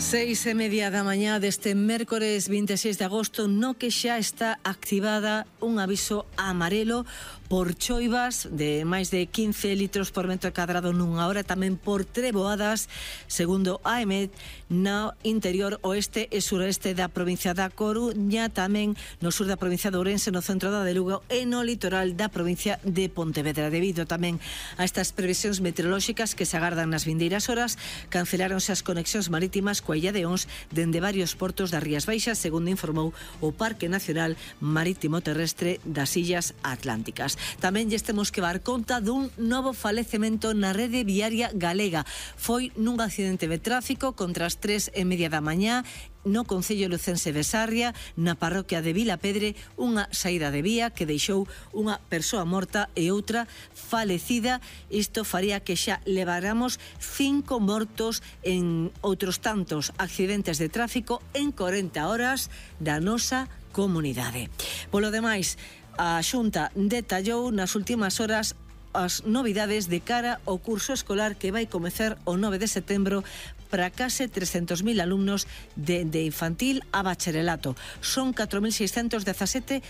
6:30 da mañá deste mércores 26 de agosto, no que xa está activada un aviso amarelo por choivas de máis de 15 litros por metro cadrado nunha hora, tamén por treboadas, segundo a EMET, no interior oeste e suroeste da provincia da Coruña, tamén no sur da provincia de Ourense, no centro da de Lugo e no litoral da provincia de Pontevedra. Debido tamén a estas previsións meteorolóxicas que se agardan nas vindeiras horas, canceláronse as conexións marítimas coa Illa de Ons dende varios portos das Rías Baixas, segundo informou o Parque Nacional Marítimo Terrestre das Illas Atlánticas. Tamén lles temos que dar conta dun novo falecemento na rede viaria galega. Foi nun accidente de tráfico contra as 3:30 da mañá no concello lucense de Sarria, na parroquia de Vilapedre, unha saída de vía que deixou unha persoa morta e outra falecida. Isto faría que xa leváramos 5 mortos en outros tantos accidentes de tráfico en 40 horas da nosa comunidade. Polo demais, a Xunta detallou nas últimas horas as novidades de cara ao curso escolar que vai comezar o 9 de setembro para case 300.000 alumnos de infantil a bacharelato. Son 4.617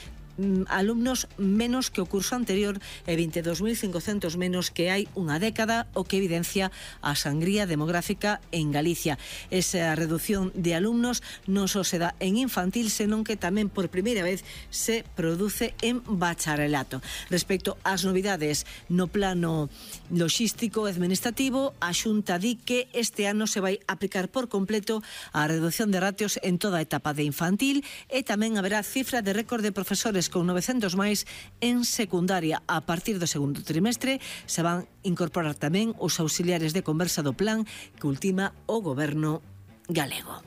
alumnos menos que o curso anterior e 22.500 menos que hai unha década, o que evidencia a sangría demográfica en Galicia. Esa reducción de alumnos non só se dá en infantil, senón que tamén por primeira vez se produce en bacharelato. Respecto ás novidades no plano logístico e administrativo, a Xunta di que este ano se vai aplicar por completo a reducción de ratios en toda a etapa de infantil e tamén haberá cifra de récord de profesores con 900 máis en secundaria. A partir do segundo trimestre se van incorporar tamén os auxiliares de conversa do plan que ultima o goberno galego.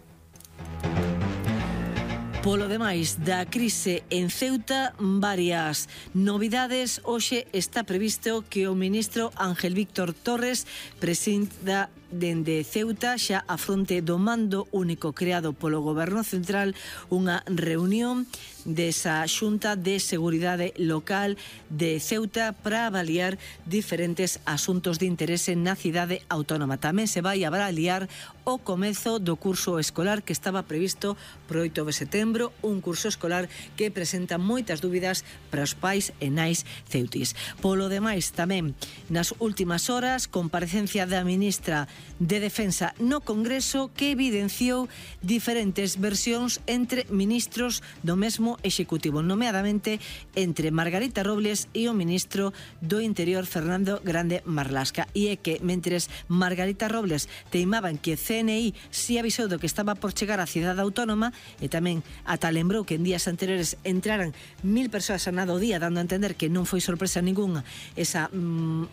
Polo demais da crise en Ceuta, varias novidades. Hoxe está previsto que o ministro Ángel Víctor Torres presida dende Ceuta, xa a fronte do mando único creado polo goberno central, unha reunión desa Xunta de Seguridade Local de Ceuta para avaliar diferentes asuntos de interese na cidade autónoma. Tamén se vai avaliar o comezo do curso escolar que estaba previsto pro 8 de setembro, un curso escolar que presenta moitas dúbidas para os pais e nais ceutis. Polo demais, tamén nas últimas horas, comparecencia da ministra de Defensa no Congreso que evidenciou diferentes versións entre ministros do mesmo Executivo, nomeadamente entre Margarita Robles e o ministro do Interior Fernando Grande Marlasca. E é que, mentres Margarita Robles teimaba en que CNI si avisou do que estaba por chegar á cidade autónoma e tamén ata lembrou que en días anteriores entraran 1000 persoas a nada o día, dando a entender que non foi sorpresa ninguna esa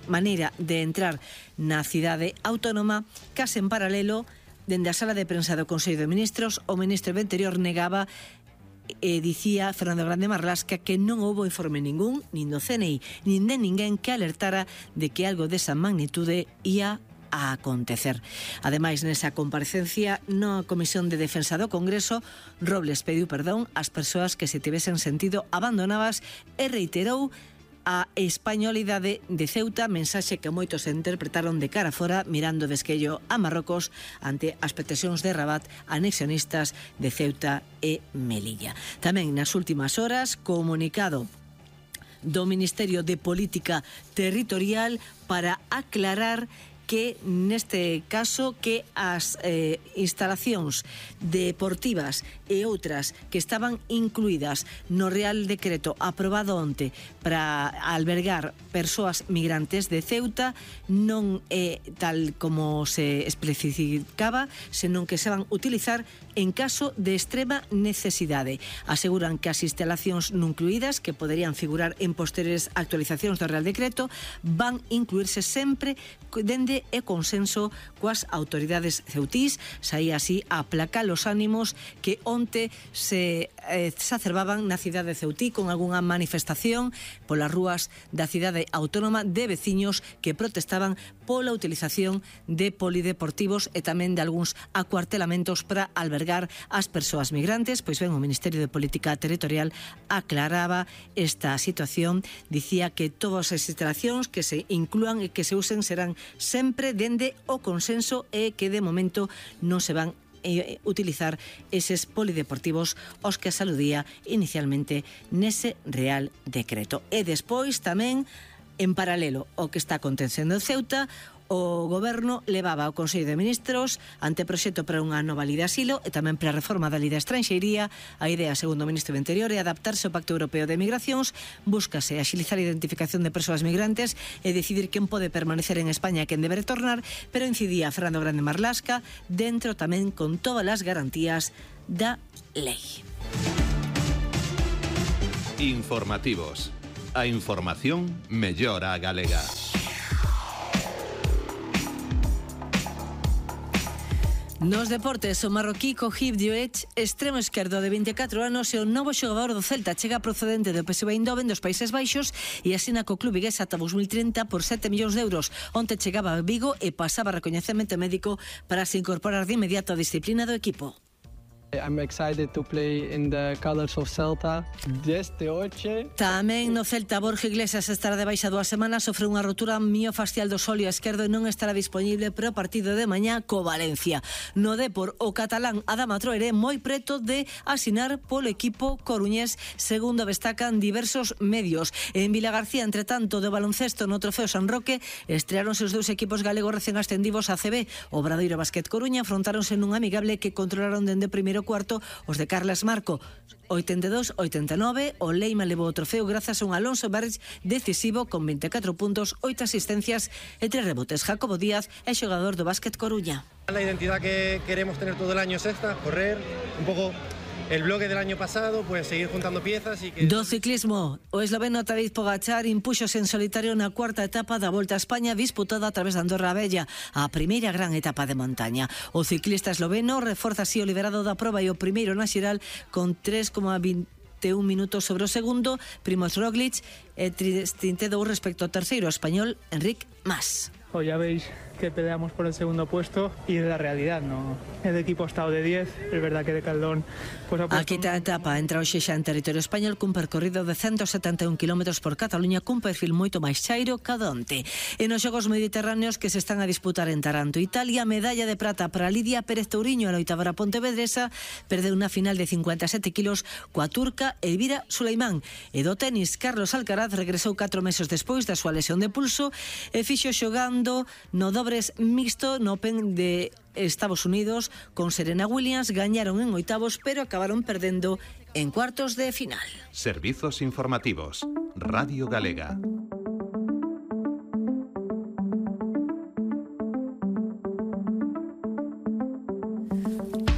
maneira de entrar na cidade autónoma, case en paralelo, dende a sala de prensa do Consello de Ministros, o ministro do Interior negaba e dicía Fernando Grande Marlasca que non houbo informe ningún, nin do CNI, nin de ninguén que alertara de que algo desa magnitude ia a acontecer. Ademais, nesa comparecencia na Comisión de Defensa do Congreso, Robles pediu perdón ás persoas que se tivesen sentido abandonadas e reiterou a españolidade de Ceuta, mensaxe que moitos interpretaron de cara fora, mirando de esquello a Marrocos ante as pretensións de Rabat anexionistas de Ceuta e Melilla. Tamén nas últimas horas, comunicado do Ministerio de Política Territorial para aclarar que neste caso que as instalacións deportivas e outras que estaban incluídas no Real Decreto aprobado onte para albergar persoas migrantes de Ceuta non é tal como se especificaba, senón que se van utilizar en caso de extrema necesidade. Aseguran que as instalacións non incluídas, que poderían figurar en posteriores actualizacións do Real Decreto, van incluirse sempre dende e consenso coas autoridades ceutís. Saía así a aplacar os ánimos que onte se exacerbaban na cidade de Ceutí con algunha manifestación polas rúas da cidade autónoma de veciños que protestaban pola utilización de polideportivos e tamén de algúns acuartelamentos para albergar as persoas migrantes. Pois ben, o Ministerio de Política Territorial aclaraba esta situación, dicía que todas as instalacións que se inclúan e que se usen serán sempre dende o consenso e que de momento non se van utilizar eses polideportivos aos que se aludía inicialmente nese Real Decreto. E despois tamén, en paralelo ao que está acontecendo en Ceuta, o Goberno levaba ao Consello de Ministros anteproxecto para unha nova lei de asilo e tamén para a reforma da lei de estranxeiría. A idea, segundo o Ministro do Interior, é adaptarse ao Pacto Europeo de Migracións, búscase axilizar a identificación de persoas migrantes e decidir quen pode permanecer en España e quen debe retornar, pero incidía Fernando Grande Marlasca dentro tamén con todas as garantías da lei. Informativos. A información mellora a galega. Nos deportes, o marroquí Khouib Diouech, extremo esquerdo de 24 anos, é o novo xogador do Celta, chega procedente do PSV Eindhoven dos Países Baixos e asina co club vigués ata 2030 por 7 millóns de euros. Onte chegaba a Vigo e pasaba recoñecemento médico para se incorporar de inmediato á disciplina do equipo. I'm excited to play in the colors of Celta desde hoxe. Tamén no Celta, Borja Iglesias estará de baixa 2 semanas, sofre unha rotura miofascial do sóleo esquerdo e non estará disponible para o partido de mañá co Valencia. No Depor, o catalán Adama Traoré moi preto de asinar polo equipo coruñés, segundo destacan diversos medios. En Vilagarcía, entre tanto, de baloncesto no Trofeo San Roque, estreáronse os dous equipos galegos recén ascendidos a CB. O Obradoiro Basket Coruña afrontáronse nun amigable que controlaron dende primeiro cuarto os de Carles Marco. 82-89, o Leima levou o trofeo grazas a un Alonso Berge decisivo con 24 puntos, 8 asistencias e 3 rebotes. Jacobo Díaz é xogador do Basket Coruña. La identidad que queremos tener todo el año es esta, correr un poco el bloque del año pasado, pues seguir juntando piezas y que... Do ciclismo, o esloveno Tadej Pogačar impúxose en solitario na cuarta etapa da Volta a España disputada a través de Andorra Vella, a primeira gran etapa de montaña. O ciclista esloveno reforza así o liderado da proba e o primeiro na xeral con 3,21 minutos sobre o segundo, Primož Roglič, e 32 respecto ao terceiro español Enric Mas. Pues ya veis que peleamos por el segundo puesto y es la realidad, ¿no? El equipo ha estado de 10, es verdad que de Caldón pues ha puesto... A quinta etapa entra hoxe xa en territorio español cun percorrido de 171 km por Cataluña cun perfil moito máis chairo cada onte. E nos Xogos Mediterráneos que se están a disputar en Taranto, Italia, medalla de prata para Lidia Pérez Touriño, a loitavara pontevedresa, perdeu unha final de 57 kilos coa turca Elvira Suleimán. E do tenis, Carlos Alcaraz regresou 4 meses despois da súa lesión de pulso e fixo xogando no dobres mixto no Open de Estados Unidos con Serena Williams. Gañaron en oitavos, pero acabaron perdendo en cuartos de final. Servizos informativos. Radio Galega.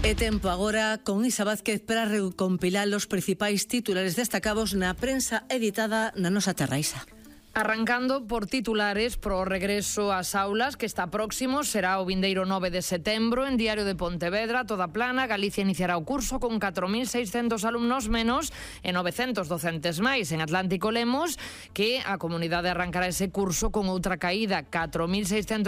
E tempo agora con Isa Vázquez para recompilar os principais titulares destacados na prensa editada na nosa terra. Isa. Arrancando por titulares pro regreso ás aulas, que está próximo, será o vindeiro 9 de setembro. En Diario de Pontevedra, toda plana, Galicia iniciará o curso con 4.600 alumnos menos e 900 docentes máis. En Atlántico lemos que a comunidade arrancará ese curso con outra caída, 4.617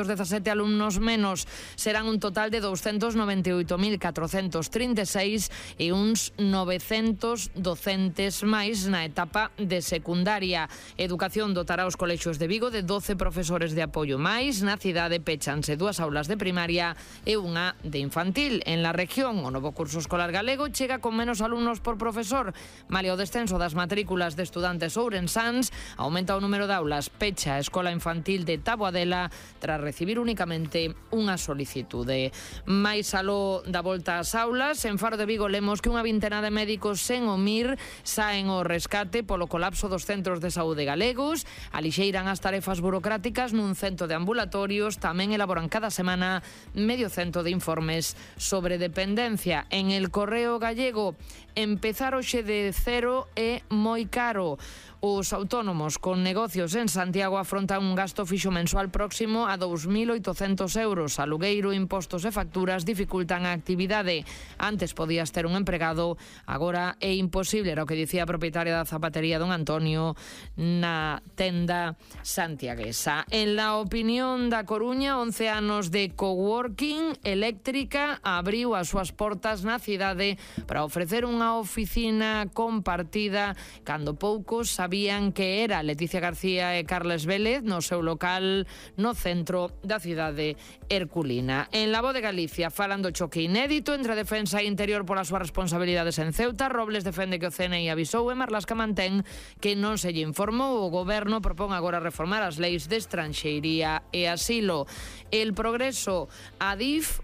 alumnos menos. Serán un total de 298.436 e uns 900 docentes máis na etapa de secundaria. Educación dotará os colexios de Vigo de 12 profesores de apoio máis. Na cidade péchanse 2 aulas de primaria e unha de infantil. En la región, o novo curso escolar galego chega con menos alumnos por profesor. Malia o descenso das matrículas de estudantes ourensáns, aumenta o número de aulas. Pecha a escola infantil de Taboadela tras recibir únicamente unha solicitude. Mais aló da volta ás aulas, en Faro de Vigo lemos que unha vintena de médicos sen o MIR saen ao rescate polo colapso dos centros de saúde galegos. Alixeiran as tarefas burocráticas nun cento de ambulatorios, tamén elaboran cada semana medio cento de informes sobre dependencia. En El Correo Gallego, empezar hoxe de cero é moi caro. Os autónomos con negocios en Santiago afrontan un gasto fixo mensual próximo a 2.800 euros. Alugueiro, impostos e facturas dificultan a actividade. Antes podías ter un empregado, agora é imposible, era o que dicía a propietaria da zapatería don Antonio na tenda santiaguesa. En La Opinión da Coruña, 11 anos de coworking, Eléctrica abriu as súas portas na cidade para ofrecer unha oficina compartida cando poucos sabían sabían que era Leticia García e Carles Vélez no seu local no centro da cidade herculina. En La Voz de Galicia falan do choque inédito entre a defensa e interior polas súas responsabilidades en Ceuta. Robles defende que o CNI avisou e Marlaska mantén que non se lle informou. O goberno propón agora reformar as leis de estranxeiría e asilo. El Progreso, Adif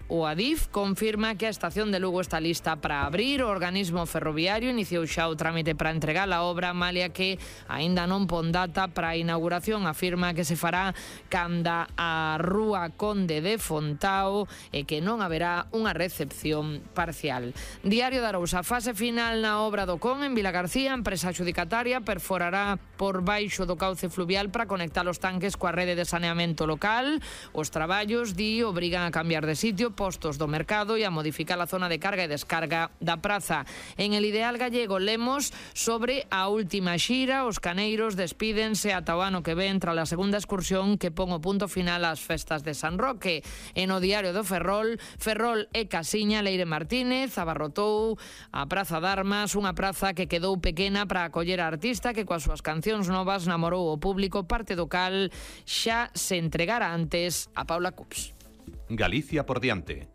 confirma que a estación de Lugo está lista para abrir. O organismo ferroviario iniciou xa o trámite para entregar a obra, malia que aínda non pon data para a inauguración. Afirma que se fará canda a Rúa Conde de Fontao e que non haberá unha recepción parcial. Diario de Arousa, fase final na obra do Con en Vilagarcía. A empresa adxudicataria perforará por baixo do cauce fluvial para conectar os tanques coa rede de saneamento local. Os traballos, obrigan a cambiar de sitio postos do mercado e a modificar a zona de carga e descarga da praza. En El Ideal Gallego lemos sobre a última xira. Os caneiros despídense ata o ano que ven tras a segunda excursión que pon o punto final ás festas de San Roque. En o diario do Ferrol e Casiña, Leire Martínez abarrotou a Praza de Armas, unha praza que quedou pequena para acoller a artista que coas súas cancións novas namorou o público, parte do cal xa se entregara antes a Paula Cups. Galicia por diante.